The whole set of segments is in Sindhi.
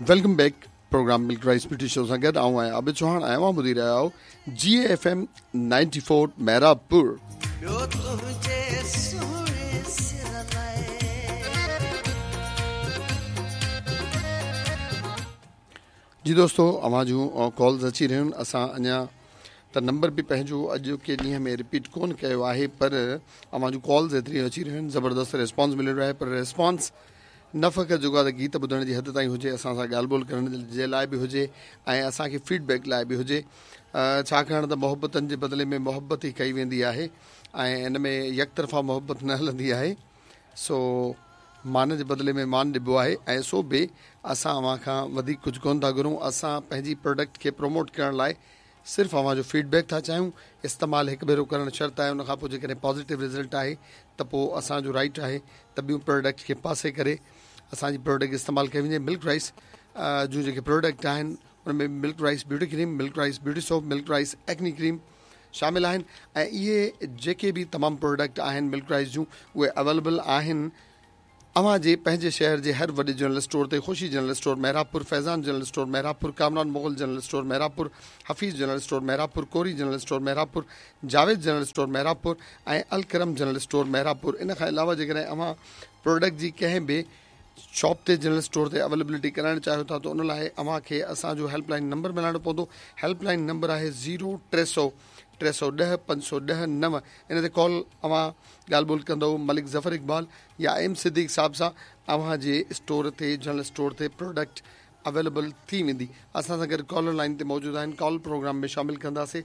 Welcome back programme Milk Rice Beauty Show سان گڏ آئون آهيان عابد چوهاڻ ۽ اوهان ٻڌي رهيا آهيو جي ايف ايم 94 محرابپور. ٻيو تنهنجي سهڻي سر لاء. جي دوستو اوهان جون ڪالز اچي رهيون آهن اسان اڃا ته نمبر به پنهنجو اڄوڪي ڏينهن ۾ رپيٽ ڪون ڪيو آهي پر اوهان جون ڪالز ايتريون اچي رهيون آهن زبردست ريسپانس ملي رهيو آهي پر ريسپانس نه فقط جيڪو آهي ته گيت ٻڌڻ جي حد تائين هجي اسان سان ڳالهه ٻولهه ڪرڻ جي لاء به هجي ۽ اسان کي فيڊ بيڪ لاء به هجي ڇاڪاڻ ته محبتن جي بدلي ۾ محبت ئي ڪئي ويندي آهي ۽ ان ۾ يڪ طرفا محبت نه هلندي آهي سو مان جي بدلي ۾ مان ڏبو آهي ۽ سو به اسان اوهان کان وڌيڪ ڪجهه ڪونه ٿا گهرون اسان پنهنجي پروڊڪٽ کي پروموٽ ڪرڻ لاء صرف اوهان جو فيڊ بيڪ ٿا چاهيون، استعمال هڪ ڀيرو ڪرڻ شرط آهي ان کان پوء جيڪڏهن پازيٽو رزلٽ آهي ته پوء اسان جو رائيٽ آهي ته ٻيون پروڊڪٽ کي پاسي ڪري اسان جي پروڊڪٽ استعمال ڪئي وڃي ملڪ رائس جون جيڪي پروڊڪٽ آهن ان ۾ Milk Rice beauty cream Milk Rice beauty soap Milk Rice acne cream شامل آهن ۽ اهي جيڪي به تمام پروڊڪٽ آهن ملڪ رائس جون اهي اويليبل آهن اوهان جي پنهنجي شهر جي هر وڏي جنرل اسٽور تي Khushi general store Mehrabpur, Faizan general store Mehrabpur, Kamran Mughal general store Mehrabpur, Hafeez general store Mehrabpur, Kori general store Mehrabpur, Javed general store Mehrabpur ۽ Alkaram general store Mehrabpur ان کان علاوه جيڪڏهن اوهان پروڊڪٽ جي ڪنهن به شاپ تي جنرل اسٽور تي اويليبلٽي ڪرائڻ چاهيو ٿا ته ان لاء اوهان کي اسان جو هيلپ لائن نمبر ملائڻو پوندو هيلپ لائن نمبر آهي زيرو 300 310 510 9 ان تي ڪال اوهان ڳالهه ٻولهه ڪندؤ ملڪ ظفر اقبال يا ايم صديق صاحب سان اوهان جي اسٽور تي جنرل اسٽور تي پروڊڪٽ اويليبل ٿي ويندي اسان سان گڏ ڪالر لائن تي موجود آهن ڪال پروگرام ۾ شامل ڪنداسي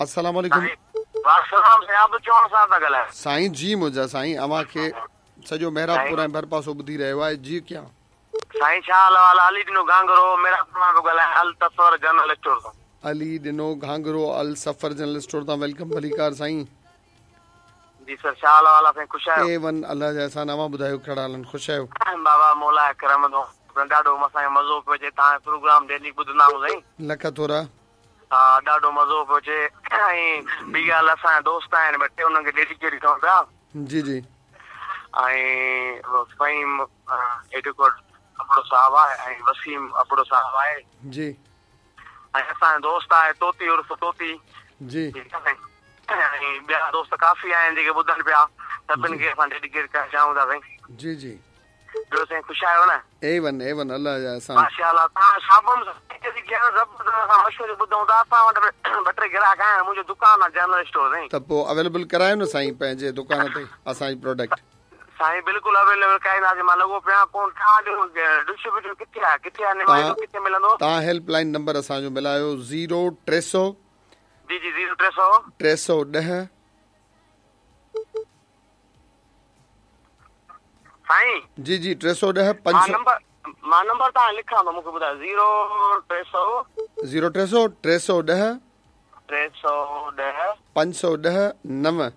السلام عليڪم. وعليڪم السلام سائين عابد چوهاڻ صاحب ٿا ڳالهايو. سائين جي منهنجا سائين اوهان کي سڄو محرابپور ۽ ڀرپاسو ٻڌي رهيو آهي جي ڪيان. سائين ڇا حال احوال علي ڏنو گهانگهرو محرابپور مان پيو ڳالهايان التصور جنرل اسٽور تان. علي ڏنو گهانگهرو السفر جنرل اسٽور تان welcome ڀليڪار سائين. جي سر ڇا حال احوال آ سائين خوش آهيو. اي ون الله جا احسان اوهان ٻڌايو ڪهڙا حال آهن خوش آهيو. بابا مولا ڪرم دعا ڏاڍو اسان کي مزو پيو اچي توهان جو پروگرام ڊيلي ٻڌندا آهيون سائين. لک ٿورا. ها ڏاڍو مزو پيو اچي ۽ ٻي ڳالهه اسان جا دوست آهن ٻه ٽي انهن کي ڊيڊيڪيٽ ڪيون پيا. جي جي. ۽ فهيم ايڊوڪيٽ ابڙو صاحب آهي ۽ وسيم ابڙو صاحب آهي. جي. ۽ اسان جو دوست آهي طوطي عرف طوطي. جي. ٺيڪ آهي سائين ۽ ٻيا دوست ڪافي آهن جيڪي ٻڌن پيا سڀن کي اسان ڊيڊيڪيٽ ڪرڻ چاهيون ٿا سائين. جي جي. ٻيو سائين خوش آهيو نه. اي ون اي ون الله جا احسان. ماشاء الله توهان صابن زبردست اسان مشوري ٻڌون ٿا اسان وٽ ٻه ٽي گراهڪ آهن منهنجو دڪان آهي جنرل اسٽور سائين. ته پوء اويليبل ڪرايو نه سائين پنهنجي دڪان تي اسان جي پروڊڪٽ. سائين بلڪل اويليبل ڪرائينداسين مان لڳو پيو آهيان ڪون توهان جو ڊسٽريبيوٽر ڪٿي آهي ڪٿي آهي نمائندو ڪٿي ملندو. توهان هيلپ لائين نمبر اسان جو ملايو زيرو 300. جي جي زيرو 300. 310. سائين. جي جي 310 500. مان نمبر تان لکان ٿو مونکي ٻڌايو زيرو 300. زيرو 300 310. 310. 510 9.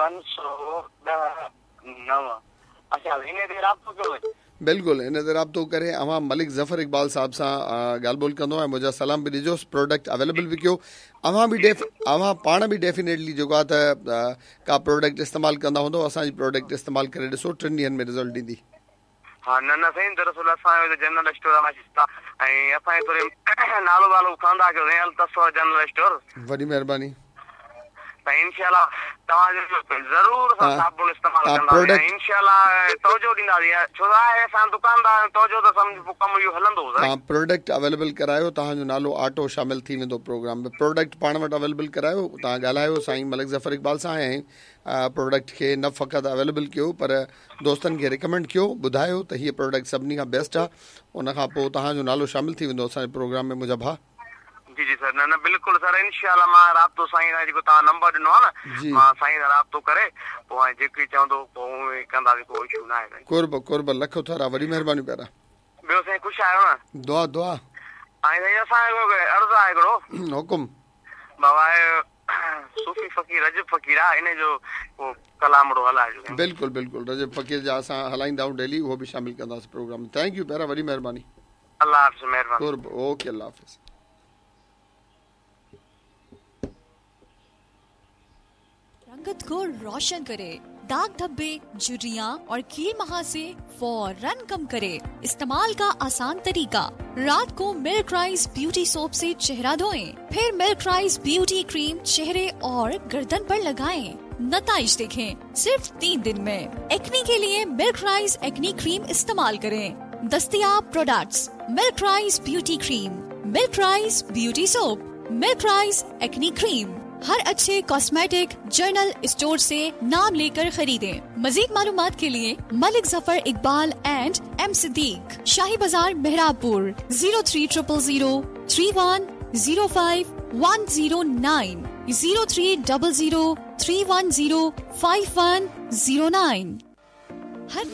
510 9 اڇا هن تي رابطو ڪيو وڃي. بلڪل ان تي رابطو ڪري اوهان ملڪ ظفر اقبال صاحب سان ڳالهه ٻولهه ڪندو ۽ منهنجا سلام به ڏجوس پروڊڪٽ اويليبل به ڪيو اوهان به ڊيف اوهان پاڻ به ڊيفينيٽلي جيڪو آهي ته ڪا پروڊڪٽ استعمال ڪندا هوندو اسان جي پروڊڪٽ استعمال ڪري ڏسو ٽن ڏينهن ۾ رزلٽ ڏيندي. ها نه نه سائين دراصل اسان جو جنرل اسٽور آهي ۽ اسان جي ٿوري نالو والو کڻندا ڪيو سائين التصور جنرل اسٽور. وڏي مهرباني. سائين انشاء الله توهان جو ضرور اسان صابڻ استعمال ڪنداسين ۽ انشاء الله توجه ڏينداسين ڇو ته آهي اسان دڪاندار آهيون توجه ته سمجهه پوء ڪم اهو هلندو سائين. توهان پروڊڪٽ اويليبل ڪرايو توهان جو نالو آٽو شامل ٿي ويندو پروگرام ۾ پروڊڪٽ پاڻ وٽ اويليبل ڪرايو توهان ڳالهايو سائين ملڪ ظفر اقبال سان ۽ پروڊڪٽ کي نه فقط اويليبل ڪيو پر دوستن کي ريڪمينڊ ڪيو ٻڌايو ته هيء پروڊڪٽ سڀني کان بيسٽ آهي ان کان پوء توهان جو نالو شامل ٿي ويندو اسان جي پروگرام ۾ منهنجا ڀاء. جي جي سر نه نه بلڪل سر انشاء الله مان رابطو سائين سان جيڪو توهان نمبر ڏنو آهي نه مان سائين سان رابطو ڪري پوء ۽ جيڪي چوندو پوء اونئين ئي ڪنداسين ڪو اشو نه آهي سائين. قرب قرب لک ٿورا وڏي مهرباني پيارا. ٻيو سائين خوش آهيو نه. دعا دعا. ۽ سائين اسان جو عرض آهي هڪڙو. حڪم. بابا صوفي فقير رجب فقير آ ان جو ڪو ڪلامڙو هلائجو سائين. بلڪل بلڪل رجب فقير جا اسان هلائيندا آهيون ڊيلي اهو به شامل ڪنداسين پروگرام ۾ thank you پيارا وڏي مهرباني. الله حافظ مهرباني. قرب اوڪي الله حافظ. رنگت کو روشن ڪري. दाग धब्बे, झुर्रियाँ और कील महासे फौरन कम करे। इस्तेमाल का आसान तरीका, रात को मिल्क राइस ब्यूटी सोप से चेहरा धोएं, फिर मिल्क राइस ब्यूटी क्रीम चेहरे और गर्दन पर लगाएं। नताइज देखें सिर्फ 3 दिन में। एक्नी के लिए मिल्क राइस एक्नी क्रीम इस्तेमाल करें। दस्तियाब products milk rice beauty cream, milk rice beauty soap, milk rice acne cream. हर अच्छे कॉस्मेटिक जर्नल स्टोर से नाम लेकर खरीदें। मजीद मालूमात के लिए Malik Zafar Iqbal and M Siddique, Shahi Bazaar Mehrabpur, 0300 031 05 109, 0300 310 5109। हर